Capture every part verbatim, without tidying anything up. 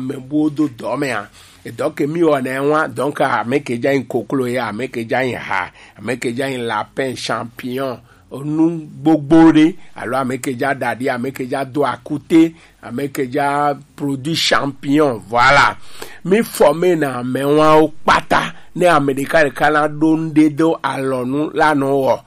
mɛ bo do dɔ mɛ a. Edɔ ke mi wɔ nɛ wa, donc ame ke dza yin koklo ye, ame ke dza yin ha, ame ke dza yin lapin, champignon, nu gbogbo ɖe, alo ame ke dza ɖaɖi, ame ke dza do akute, ame ke dza produit champignon, voilà. Mi former na amɛ wa wo kpata, ne ame ɖeka ɖeka na ɖo nu ɖe do alɔnu la nɔ wɔ.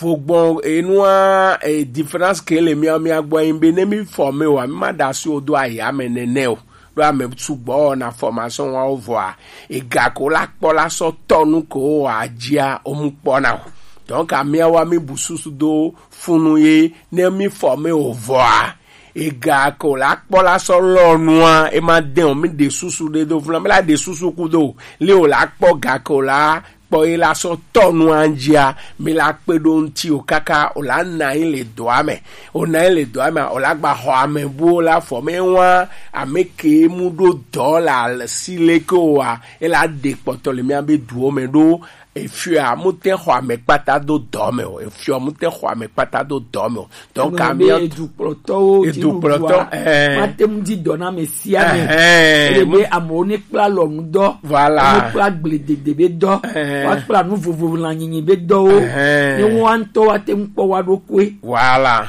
Vogbɔn enua, e, différence ke le mia, mia gbɔ yin be ne mi former wa, mi ma ɖasi wo do aya me nɛnɛ o. Ɖo ame sugbɔ wɔna formation wa wo vɔa, ega ko la kpɔ la sɔ tɔ nu ko wa dzia, o mu kpɔ na o. Donc amia wa mi bu susu do funu ye, ne mi former o vɔa, ega ko la kpɔ la sɔ lɔ nua, e ma de o, mi ɖe susu ɖe do funu, mi la ɖe susu ku do, le o la kpɔ ga ko la kpɔ ye la sɔ tɔ nua dzia, mi la kpe ɖo ŋuti o kaka o la na yi le dɔa me. O na yi le dɔa me, o la gba xɔ ame buwo la former wa, ame ke mu ɖo dɔ la si le ke o wa, e la ɖe kpɔtɔ le mia be duwo me ɖo. Efia mu te xɔ ame kpata do dɔ me o. Efia mu te xɔ ame kpata do dɔ me o. Donc, ame be amia edukplɔtɔwo, edukplɔtɔ, eh, mate ŋu di dɔ na ame sia ame. Eh, ele be amewo ne kpla lɔnu dɔ. Voilà. Ne kpla gble dede be dɔ. Eh. Wa kpla nu vovo la nyinyi be dɔwo. Eh. Ne wa ŋutɔ wa te ŋu kpɔ wa ɖokoe. Voilà.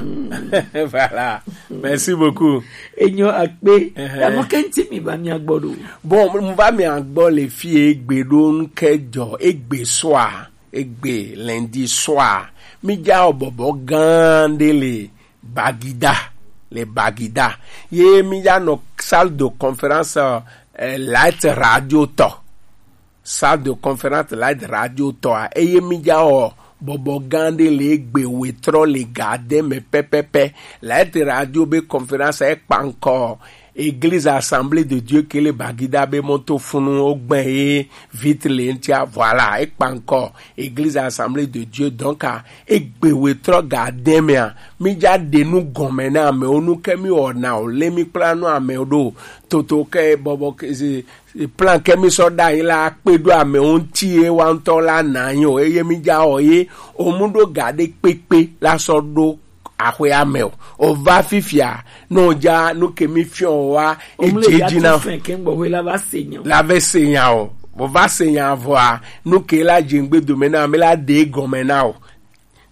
Voilà. Merci beaucoup. Enyo akpe. Eh. Enu ke ŋuti mi va mia gbɔ ɖo? Bon, mi va mia gbɔ le fie egbe ɖo ŋke dzɔ, egbe soir. Egbe lundi soir, mi dza wɔ bɔbɔ gã ɖe le Bagida, le Bagida. Ye mi dza nɔ salle de conférence, eh, Light Radio tɔ. Salle de conférence Light Radio tɔa, eye mi dza wɔ bɔbɔ gã ɖe le egbe wetrɔ le ga de me pɛpɛpɛ. Light Radio be conférence e kpa ŋkɔ Église Assemblée de Dieu ke le Bagida be mɔto funu o gbɛ ye vite le ŋtia, voilà, e kpa ŋkɔ Église Assemblée de Dieu. Donc, a, egbe wetrɔ ga de mea, mi dza ɖe nu gɔme na amewo, nu ke mi wɔna o, le mi kpla nu amewo ɖo, toto ke bɔbɔ ke, e, e plan ke mi sɔ ɖa yi la kpe ɖo amewo ŋti ye wa ŋutɔ la na yi o, eye mi dza wɔ ye, o mu ɖo ga ɖe kpekpe la sɔ ɖo axwea me o. O va fifia, ne o dza nu ke mi fiɔ wa, e dze dzi na o. La va se nya o. O va se nya vɔa, nu ke la dze ŋgbe dome na mi la ɖe gɔme na o.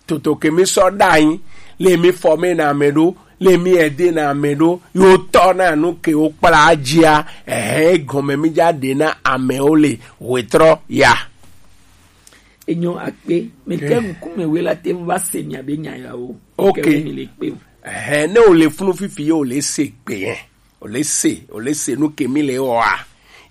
Toto ke mi sɔ ɖa anyi, le mi former na ame ɖo, le mi aider na ame ɖo, yo tɔ na nu ke o kpla dzia, ehe gɔme mi dza ɖe na amewo le wetrɔ ya. Enyo akpe, mi ke ŋkume we la te va se mia be nya ya o. Ok. Ke mi le kpe o. Ehe, ne o le funu fifi ye o le se gbe yɛn. O le se, o le se nu ke mi le wɔa.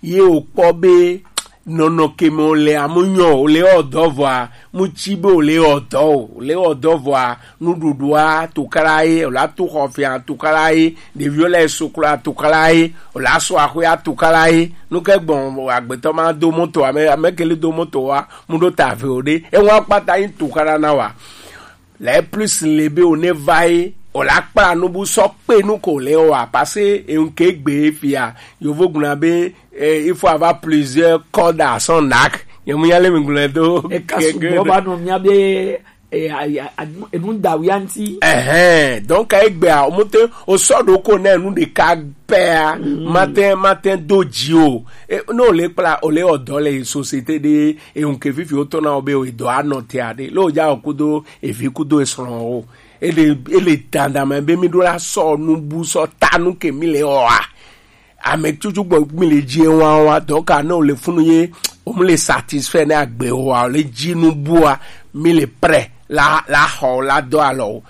Ye o kpɔ be nɔnɔ ke me o le amu nyɔ, o le wɔ dɔ vɔa, mu tsi be o le wɔ dɔ o, o le wɔ dɔ vɔa, nuɖuɖua tukala ye, o la tu xɔ fia tukala ye, ɖeviwo le suklu tukala ye, o la su axwe tukala ye. Nu ke gbɔn agbetɔ ma do moto, ame, ame ke le do moto wa, mu ɖo ta ve o ɖe, e wa kpata yi tukala na wa. Le plus le be o ne va ye, o la kpla nu bu sɔ kpe nu ko le wa, parce que e ŋke gbe fia, yovo gblɔna be, eh, il faut avoir plusieurs cordes à son arc. Ye mu ya le mi gblɔ do. E ka sugbɔ ba nɔ mia be, eh, a, a, a, enu da wia ŋti. Ehe, donc egbea, o mu te, o sɔ ɖo ko ne nu ɖeka pɛa, mm, mate, mate do dzi o. E, ne o le kpla, o le wɔ dɔ le société ɖe, e ŋke fifi o tɔ na o be o dɔ anɔ te aɖe. Le o dza o kudo evi kudo esrɔ̃ o. Ele, ele dandan me be mi ɖo la sɔ nu bu sɔ ta nu ke mi le wɔa. Ame tutu gbɔ mi le dzi wa wa, donc a ne o le funu ye, o mu le satisfait ne agbe o wa, o le dzi nu bua, mi le prêt la, la xɔ la dɔ alɔ o.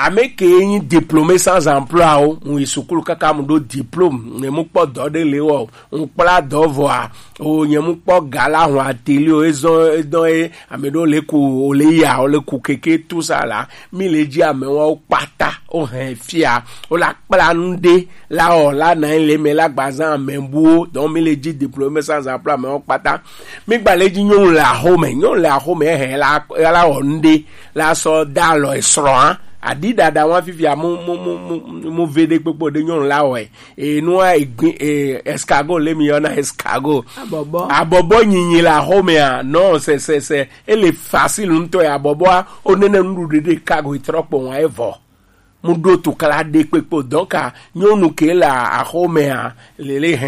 Ame ke nyi diplômé sans emploi o, mu yi sukulu kaka mu ɖo diplôme, ne mu kpɔ dɔ ɖe le wɔ, mu kpla dɔ vɔa, o nye mu kpɔ ga la hɔn atelier o, ezɔn, edɔn e, ame ɖewo le ku, o le ya, o le ku keke, tout ça la, mi le dzi ame wa o kpata, o hɛn fia, o la kpla nu ɖe, la wɔ, la na le me, la gba zan ame buwo, donc mi le dzi diplômé sans emploi ame wa kpata, mi gba le dzi nyɔnu le axome, nyɔnu le axome, hɛn la, la wɔ nu ɖe, la sɔ da alɔ esrɔ̃a, aɖi ɖaɖa wa fifia mu, mu, mu, mu, mu ve ɖe kpekpe ɖe nyɔnu la wɔe. E nua egbi, e, escargot le mi yɔna escargot. Abɔbɔ. Abɔbɔ nyinyi le axomea, non, c'est, c'est, c'est, ele facile ŋutɔ ya abɔbɔa, o nene nuɖuɖu ɖe cargo trɔ kpɔ wa evɔ. Mu ɖo tukla ɖe kpekpe o. Donc, a, nyɔnu ke le axomea, lele hɛn